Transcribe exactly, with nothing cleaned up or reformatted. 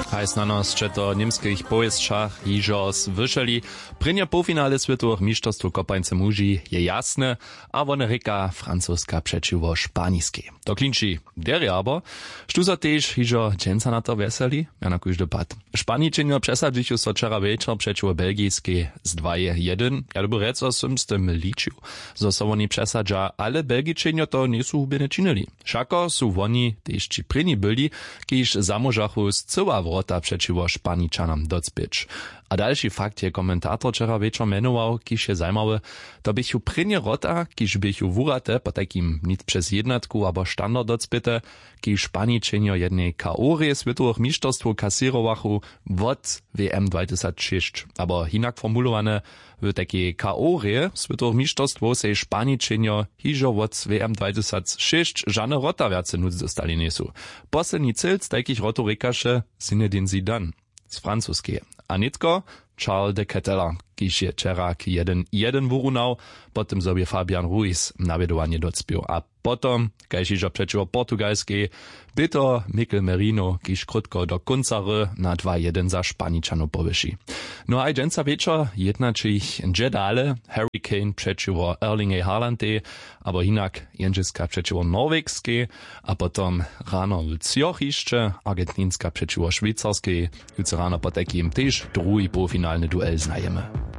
Haj, snano sće to w němskich powěsćach hižo słyšeli. Prěnje połfinale swětowych mišterstwow kopańce muži je jasne, a wone rěka francoska přećiwo španiskej. To klinči derje abo, štó so tež hižo dźensa na to wjeseli? Ja na kóždy pad. Španičenjo přesadźichu so wčera wječor přećiwo belgiskej z dwaj jedyn. Ja dyrbju rjeco, sym z tym ličił, zo so woni přesadźa, ale belgičenjo to njejsu hubjene činili. Wšako su woni tež ći prěni byli, kiž zamóžachu scyła wrota přećiwo španičanam docpěć. A dalši fakt je komentator wčera wječor mjenował, kiž je zajimawy. To běchu prěnje wrota, kiž běchu wurate, potajkim nic přez jednatku abo standard docpěte, kiž španičenjo jednej k o rje swětowych mišterstwow kasěrowachu wot w m dwatysacšěsć. Abo hinak formulowane, w tajkej k o rje swětowych mišterstwow sej španičenjo hižo wot w m dwatysacšěsć žane wrota wjace nutř dostali njejsu. Posledni cylc tajkich wrotow rěkaše Zinedine Zidane z francuskeje. A nětko Charles de Ketteler, kiž je wčera k jedyn jedyn wurunał, po tym zo bě Fabian Ruiz nawjedowanje docpěł. A potom, kaž hižo přećiwo portugalskej, bě to Mikel Merino, kiž krótko do kónca hry na dwa jedyn za Španičanow powyši. No a dźensa wječor jednaćich hdźe dale, Harry Kane přećiwo Erlingej Haalandej, abo hinak Jendźelska přećiwo Norwegskej, a potom rano w třoch hišće Argentinska přećiwo Šwejcarskej. Jutře rano potajkim tež druhi połfinalny duel znajemy.